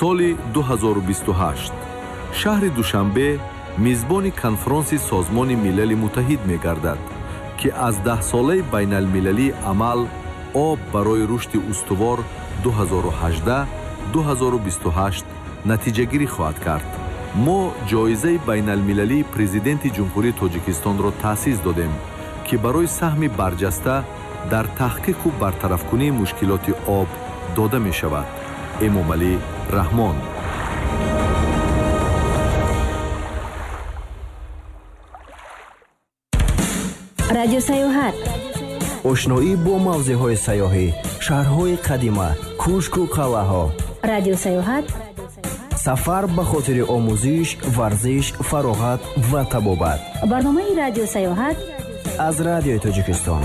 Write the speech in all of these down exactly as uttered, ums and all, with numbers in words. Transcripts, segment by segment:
Соли ду ҳазору бисту ҳашт шаҳри Душанбе мизбони конфронси Созмони Милали Муттаҳид мегардад, ки аз даҳсолаи байналмилалии амал об барои рушди устувор ду ҳазору ҳаждаҳ ду ҳазору бисту ҳашт натиҷагирӣ хоҳад кард. Мо ҷоизаи байналмилалии президенти Ҷумҳурии Тоҷикистонро таъсис додем, ки барои саҳми барҷаста дар таҳқиқу бартарафкунии мушкилоти об дода мешавад. Эмомалӣ Раҳмон. Радио Сайёҳат. Ошноӣ бо мавзеъҳои сайёҳӣ, шаҳрҳои қадима, кӯшку қалъаҳо. Радио Сайёҳат. Сафар ба хотири омӯзиш, варзиш, фароғат ва табобат. Барномаи Радио Сайёҳат аз Радиои Тоҷикистон.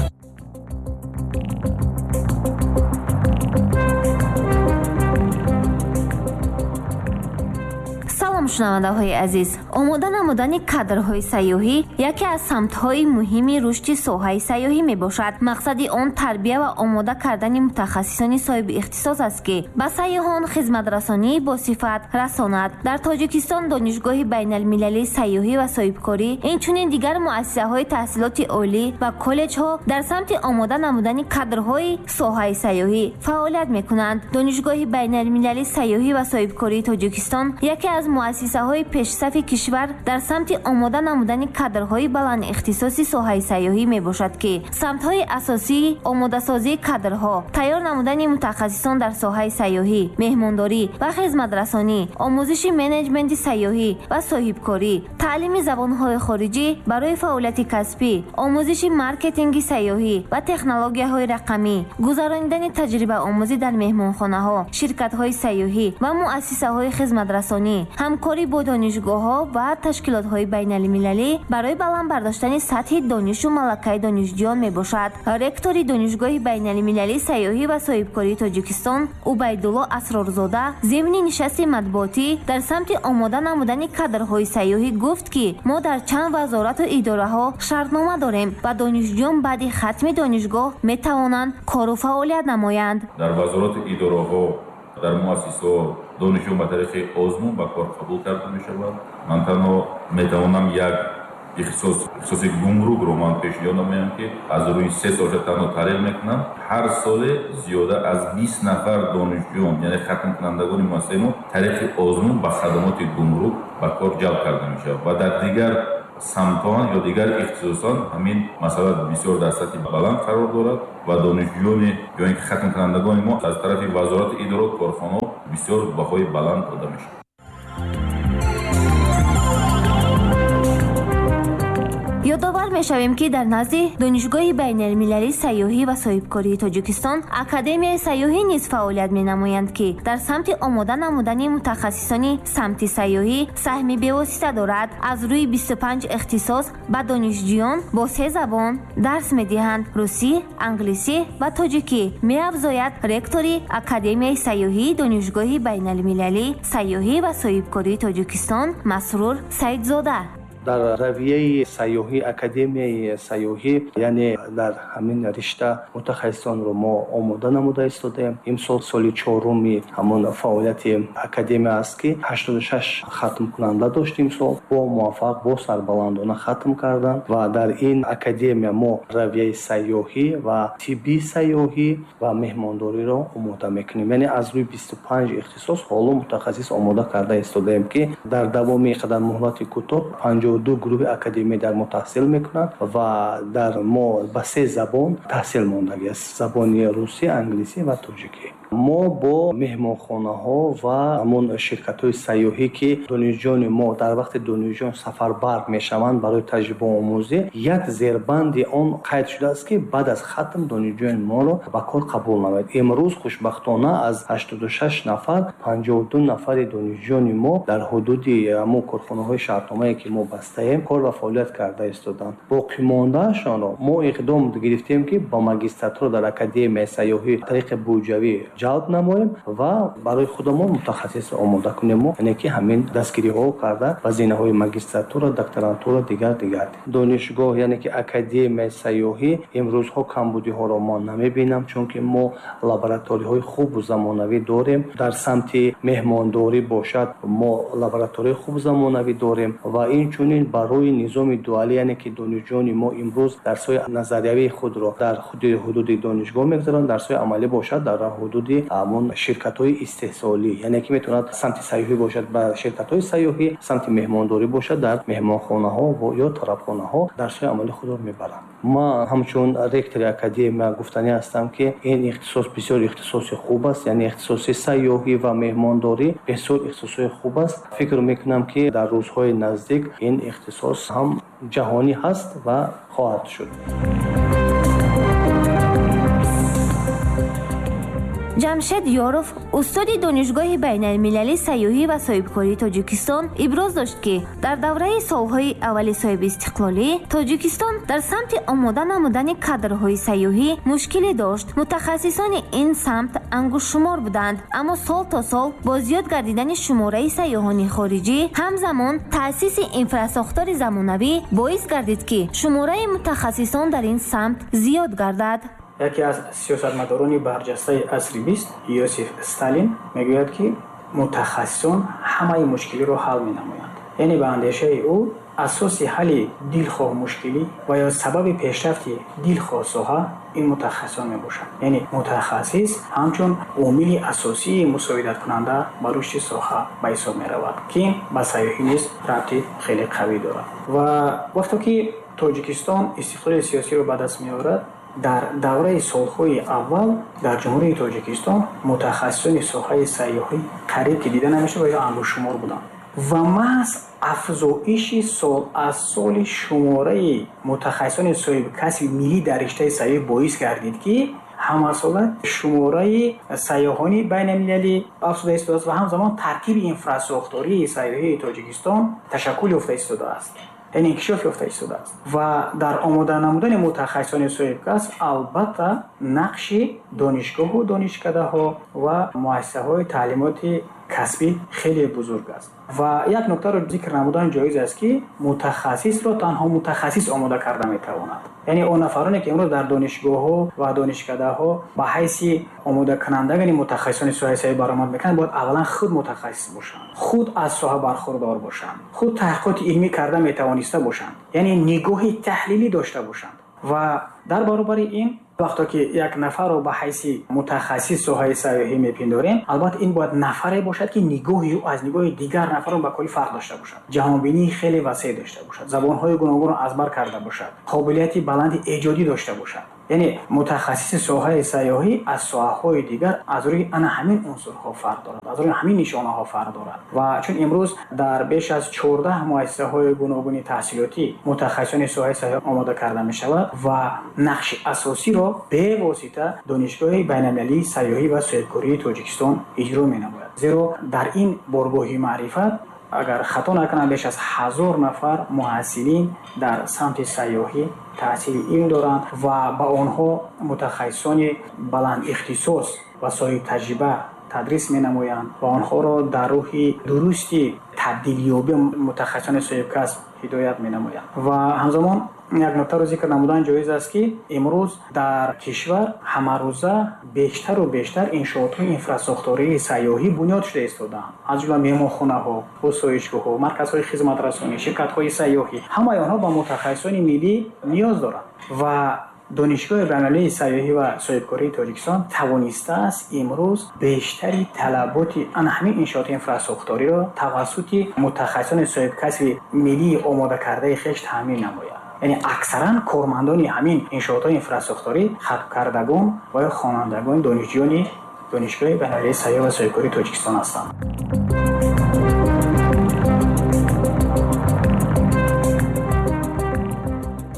Шунавандаҳои азиз, омода намудани кадрҳои сайёҳӣ яке аз самтҳои муҳими рушди соҳаи сайёҳӣ мебошад. Мақсади он тарбия ва омода кардани мутахассисони соҳиби ихтисос аст, ки ба сайёҳон хизматрасонии босифат расонад. Дар Тоҷикистон Донишгоҳи байналмилалии сайёҳӣ ва соҳибкорӣ, инчунин дигар муассисаҳои таҳсилоти олӣ ва коллеҷҳо дар самти омода намудани кадрҳои соҳаи сайёҳӣ фаъолият мекунанд. Донишгоҳи байналмилалии сайёҳӣ ва соҳибкории Тоҷикистон яке аз муассисаҳои пешсафи кишвар дар самти омода намудани кадрҳои баландихтисоси соҳаи сайёҳӣ мебошад, ки самтҳои асосии омодасозии кадрҳо, тайёр намудани мутахассисон дар соҳаи сайёҳӣ, меҳмондорӣ ва хизматрасонӣ, омӯзиши менеҷменти сайёҳӣ ва соҳибкорӣ, таълими забонҳои хориҷӣ барои фаъолияти касбӣ, омӯзиши маркетинги сайёҳӣ ва технологияҳои рақамӣ, гузаронидани таҷрибаомӯзӣ дар меҳмонхонаҳо, ширкатҳои сайёҳӣ ва муассисаҳои хизматрасонӣ, ҳамкорӣ бо донишгоҳҳо ва ташкилотҳои байналмилалӣ барои баланд бардоштани сатҳи донишу малакаи донишҷӯён мебошад. Ректори Донишгоҳи байналмилалии сайёҳӣ ва соҳибкории Тоҷикистон Убайдулло Асрорзода зимни нишасти матбуотӣ дар самти омода намудани кадрҳои сайёҳӣ гуфт, ки мо дар чанд вазорату идораҳо шартнома дорем ва донишҷӯён баъди хатми донишгоҳ метавонанд кору фаъолият намоянд. Дар вазорату идораҳо, дар муассисаҳо донишҷӯён ба тариқи озмун ба кор қабул карда мешаванд. Ман танҳо метавонам як ихтисос, ихтисоси гумрукро ман пешниҳод намоям, ки аз рӯи се солша танҳо таҳлил мекунам. Ҳар соле зиёда аз бист нафар донишҷӯён, яъне хатмкунандагони муассисаи мо тариқи озмун ба хадамоти гумрук ба кор ҷалб карда мешавад ва дар дигар самтон ё дигар ихтисосон ҳамин масъала бисёр дар сатҳи баланд қарор дорад ва донишҷӯёни ё ин ки хатмкунандагони мо аз тарафи вазорати идора корхонаҳо бисёр баҳои баланд дода мешавад. Ёдовар мешавем, ки дар назди Донишгоҳи байналмилалии сайёҳӣ ва соҳибкории Тоҷикистон Академияи сайёҳӣ низ фаъолият менамоянд, ки дар самти омода намудани мутахассисони самти сайёҳӣ саҳми бевосита дорад. Аз рӯи бисту панҷ ихтисос ба донишҷӯён бо се забон дарс медиҳанд: русӣ, англисӣ ва тоҷикӣ. Меафзояд ректори Академияи сайёҳии Донишгоҳи байналмилалии сайёҳӣ ва соҳибкории Тоҷикистон Масрур Саидзода. Дар равияи сайёҳӣ, Академияи сайёҳӣ, яъне дар ҳамин ришта мутахассисонро мо омода намуда истодаем. Имсол соли чоруми ҳамон фаъолияти академия аст, ки ҳаштоду шаш хатмкунанда дошт имсол, бо муваффақ, бо сарбаландона хатм карданд ва дар ин академия мо равияи сайёҳӣ ва тиббии сайёҳӣ ва меҳмондориро омода мекунем. Яъне аз рӯи бисту панҷ ихтисос ҳоло мутахассис омода карда истодаем, ки дар давоми қадар муҳлати кӯтоҳ панҷоҳу ду гурӯҳи академия дар мо таҳсил мекунанд ва дар мо ба се забон таҳсил мондагӣ аст: забони русӣ, англисӣ ва тоҷикӣ. Мо бо меҳмонхонаҳо ва ҳамон ширкатҳои сайёҳӣ, ки донишҷӯёни мо дар вақти донишҷӯён сафарбар мешаванд барои таҷрибаомӯзӣ, як зербанди он қайд шудааст, ки баъд аз хатм донишҷӯёни моро ба кор қабул намояд. Имрӯз хушбахтона аз ҳаштоду шаш нафар панҷоҳу ду нафари донишҷӯёни мо дар ҳудуди ҳамон корхонаҳои шартномае, ки мо бастаем, кор ва фаъолият карда истоданд. Боқимондаашонро мо иқдом гирифтем, ки ба магистратура дар Академияи сайёҳӣ тариқи буҷавӣ ҷалб намоем ва барои худамон мутахассис омода кунем, яъне ки ҳамин дастгириҳо карда ба зинаҳои магистратура, докторантура, дигар дигар. Донишгоҳ, яъне ки Академияи сайёҳӣ имрӯзҳо камбудиҳоро мо намебинам, чунки мо лабораторияҳои хубу замонавӣ дорем. Дар самти меҳмондорӣ бошад, мо лабораторияи хуб замонавӣ дорем ва инчунин барои низоми дуалӣ, яъне ки донишҷӯёни мо имрӯз дарсҳои назариявии худро дар худи ҳудуди донишгоҳ мегузаронанд, дарсҳои амалӣ бошад дар ҳудуди ҳамон ширкатҳои истеҳсолӣ, яъне ки метавонад самти сайёҳӣ бошад ба ширкатҳои сайёҳӣ, самти меҳмондорӣ бошад дар меҳмонхонаҳо ё тарабхонаҳо дарсҳои амалӣ худро мебаранд. Ман ҳамчун ректори академия гуфтанӣ ҳастам, ки ин ихтисос бисёр ихтисоси хуб аст, яъне ихтисоси сайёҳӣ ва меҳмондорӣ бисёр ихтисоси хуб аст. Фикр мекунам, ки дар рӯзҳои наздик ин ихтисос ҳам ҷаҳонӣ ҳаст ва хоҳад шуд. Ҷамшед Ёров, устоди Донишгоҳи байналмилалии сайёҳӣ ва соҳибкории Тоҷикистон, иброз дошт, ки дар давраи солҳои аввали соҳибистиқлолӣ Тоҷикистон дар самти омода намудани кадрҳои сайёҳӣ мушкиле дошт. Мутахассисони ин самт ангуштшумор буданд, аммо сол то сол бо зиёд гардидани шумораи сайёҳони хориҷӣ, ҳамзамон таъсиси инфрасохтори замонавӣ боис гардид, ки шумораи мутахассисон дар ин самт зиёд гардад. Яке аз сиёсатмадорони барҷастаи асри бист, Иосиф Сталин, мегӯяд, ки мутахассисон ҳамаи мушкилиро ҳал менамоянд. Яъне ба андешаи ӯ асоси ҳалли дилхоҳ мушкилӣ ва ё сабаби пешрафти дилхоҳ соҳа ин мутахассисон мебошанд. Яъне мутахассис ҳамчун омили асосии мусоидаткунанда ба рушди соҳа ба ҳисоб меравад, ки ба сайёҳӣ низ рабти хеле қавӣ дорад. Ва вақте ки Тоҷикистон истиқлоли сиёсиро ба даст меорад, дар давраи солҳои аввал дар Ҷумҳурии Тоҷикистон мутахассисони соҳаи сайёҳӣ қариб ки дида намешуд ва ё ангуштшумор буданд. Ва маҳз афзоиши сол аз соли шумораи мутахассисони соҳибкасби миллӣ дар риштаи сайёҳӣ боис гардид, ки ҳамасола шумораи сайёҳони байналмилалӣ афзуда истодааст ва ҳамзамон таркиби инфрасохтории сайёҳии Тоҷикистон ташаккул ёфта истодааст, яъне инкишоф ёфта истодааст. Ва дар омода намудани мутахассисони соҳибкасб албатта нақши донишгоҳу донишкадаҳо ва муассисаҳои таълимоти касбӣ хеле бузург аст. Ва як нуктаро зикр намудан ҷоиз аст, ки мутахассисро танҳо мутахассис омода карда метавонад. Яъне он нафароне, ки имрӯз дар донишгоҳҳо ва донишкадаҳо ба ҳайси омодакунандагони мутахассисони соҳаи сайёҳӣ баромад мекунанд, бояд аввалан худ мутахассис бошанд, худ аз соҳа бархурдор бошанд, худ таҳқиқоти илмӣ карда метавониста бошанд, яъне нигоҳи таҳлилӣ дошта бошанд. Ва дар баробари ин вақте ки як нафарро ба ҳайси мутахассис соҳаи сайёҳӣ мепиндорем, албатта ин бояд нафаре бошад, ки нигоҳи ӯ аз нигоҳи дигар нафарон ба куллӣ фарқ дошта бошад, ҷаҳонбинии хеле васеъ дошта бошад, забонҳои гуногунро аз бар карда бошад, қобилияти баланди эҷодӣ дошта бошад. Яъне мутахассиси соҳаи сайёҳӣ аз соҳаҳои дигар аз рӯи ана ҳамин унсурҳо фарқ дорад, аз рӯи ҳамин нишонаҳо фарқ дорад. Ва чун имрӯз дар беш аз чордаҳ муассисаҳои гуногуни таҳсилотӣ мутахассисони соҳаи сайёҳӣ омода карда мешавад ва нақши асосиро бевосита Донишгоҳи байналмилалии сайёҳӣ ва соҳибкории Тоҷикистон иҷро менамояд. Зеро дар ин боргоҳи маърифат, агар хато накунам, беш аз ҳазор нафар муҳассилин дар самти сайёҳӣ таҳсили илм доранд ва ба онҳо мутахассисони баланд ихтисос ва соҳибтаҷриба тадрис менамоянд ва онҳоро дар рӯҳи дурусти табдилёбии мутахассисони соҳибкасб ҳидоят менамоянд. Ва ҳамзамон як нуктаро зикр намудан ҷоиз аст, ки имрӯз дар кишвар ҳамарӯза бештару бештар иншоотҳои инфрасохтории сайёҳӣ бунёд шуда истодаанд, аз ҷумла меҳмонхонаҳо, осоишгоҳҳо, марказҳои хизматрасонӣ, ширкатҳои сайёҳӣ. Ҳамаи онҳо ба мутахассисони миллӣ ниёз доранд ва Донишгоҳи байналмилалии сайёҳӣ ва соҳибкории Тоҷикистон тавонистааст имрӯз бештари талаботи ана ҳамин иншооти инфрасохториро тавассути мутахассисони соҳибкасби миллии омодакардаи хеш таъмин намояд. Яъне аксаран кормандони ҳамин иншоотҳои инфрасохторӣ хатмкардагон ва ё хонандагони донишҷӯёни Донишгоҳи байналмилалии сайёҳӣ ва соҳибкории Тоҷикистон ҳастанд.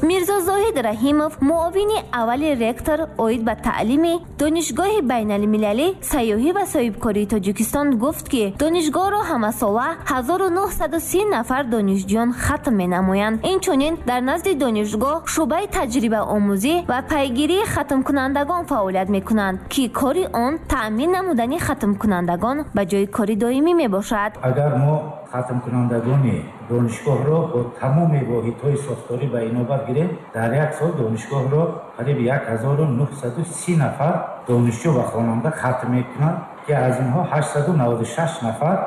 Мирзо Зоҳид Раҳимов, муовини аввали ректор оид ба таълими Донишгоҳи байналмилалӣ сайёҳӣ ва соҳибкории Тоҷикистон гуфт, ки донишгоҳро ҳамасола ҳазору нуҳсаду си нафар донишҷӯён хатм менамоянд. Инчунин дар назди донишгоҳ шӯъбаи таҷрибаомӯзӣ ва пайгирии хатмкунандагон фаъолият мекунанд, ки кори он таъмин намудани хатмкунандагон ба ҷои кори доимӣ мебошад. Агар мо хатмкунандагони донишгоҳро бо тамоми воҳидҳои сохторӣ ба инобат гирем, дар як сол донишгоҳро қариб як ҳазору нуҳсаду си нафар донишҷӯ ва хонанда хатм мекунанд, ки аз инҳо ҳаштсаду наваду шаш нафар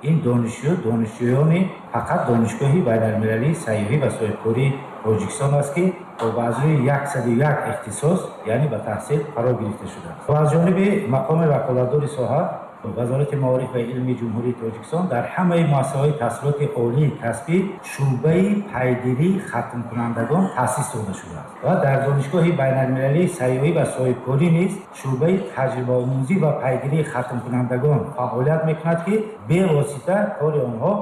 ин донишҷӯ донишҷӯёни фақат Донишгоҳи байналмилалии сайёҳӣ ва соҳибкории Тоҷикистон аст, ки ба аз рӯи яксаду як ихтисос, яъне ба таҳсил фаро гирифта шудааст. Ва аз ҷониби мақоми ваколатдори соҳа Вазорати маориф ва илми Ҷумҳурии Тоҷикистон дар ҳамаи муассисаҳои таҳсилоти олии касбӣ шӯъбаи пайгирии хатмкунандагон таъсис дода шудааст ва дар Донишгоҳи байналмилалии сайёҳӣ ва соҳибкорӣ низ шӯъбаи таҷрибаомӯзӣ ва пайгирии хатмкунандагон фаъолият мекунад, ки бевосита кори онҳо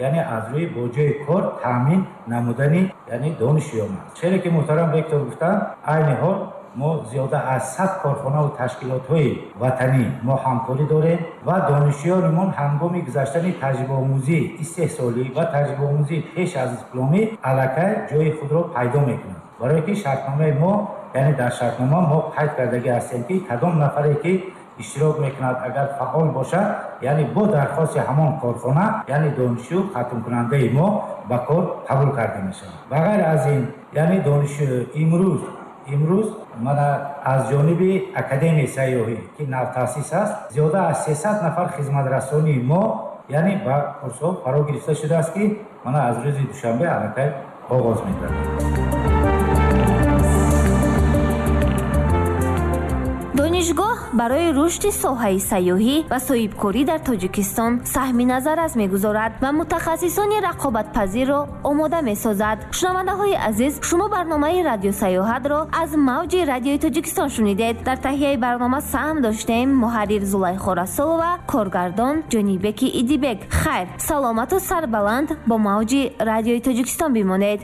яъне аз рӯи бо ҷои кор таъмин намудани яъне донишҷӯён аст. Чизе ки муҳтарам ректор гуфтанд, айни ҳол мо зиёда аз сад корхонаву ташкилотҳои ватанӣ мо ҳамкорӣ дорем ва донишҷӯёнмон ҳангоми гузаштани таҷрибаомӯзии истеҳсолӣ ва таҷрибаомӯзии пеш аз дипломӣ аллакай ҷои худро пайдо мекунанд. Барои ки шартномаи мо, яъне дар шартнома мо қайд кардагӣ ҳастем, ки кадом нафаре ки иштирок мекунад, агар фаъол бошад, яъне бо дархости ҳамон корхона, яъне донишҷӯ хатмкунандаи мо ба кор қабул карда мешавад. Ба ғайр аз ин, яъне донишҷӯ имрӯз имрӯз мана аз ҷониби Академияи сайёҳӣ, ки навтаъсис аст, зиёда аз сесад нафар хизматрасонии мо яъне ба курсҳо фаро гирифта шудааст, ки мана аз рӯзи душанбе аллакай оғоз мегардад. Донишгоҳ барои рушди соҳаи сайёҳӣ ва соҳибкорӣ дар Тоҷикистон саҳми назаррас мегузорад ва мутахассисони рақобатпазирро омода месозад. Шунавандаҳои азиз, шумо барномаи радиосайёҳатро аз мавҷи радиои Тоҷикистон шунидед. Дар таҳияи барнома саҳм доштем муҳаррир Зулайхо Расулова, коргардон Ҷонибеки Идибек. Хайр, саломату сарбаланд бо мавҷи радиои Тоҷикистон бимонед.